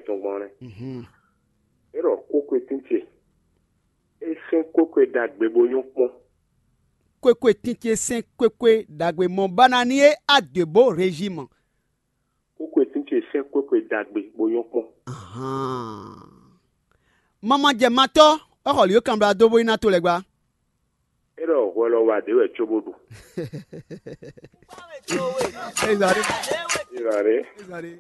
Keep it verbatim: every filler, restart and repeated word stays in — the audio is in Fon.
tɔn gbɔn lɛ́ɛ. É ɖɔ kókwe tín ce, é sɛ́n kókwe ɖagbe bó nyɔ́ kpɔ́n. Kwekwe tín ce sɛ́n kwekwe ɖagbe mɔ banani é adwěbó régime. Kókwe tín ce sɛ́n kókwe ɖagbe bó nyɔ́ kpɔ́n. Mamajɛmatɔ́, é xɔ lǐ e kanblá dó bó yi ná to lɛ́ɛ gbá. É ɖɔ hwɛ lɔ wa ɖě wɛ cóbó ɖu. Ezali. Ezali. Ezali.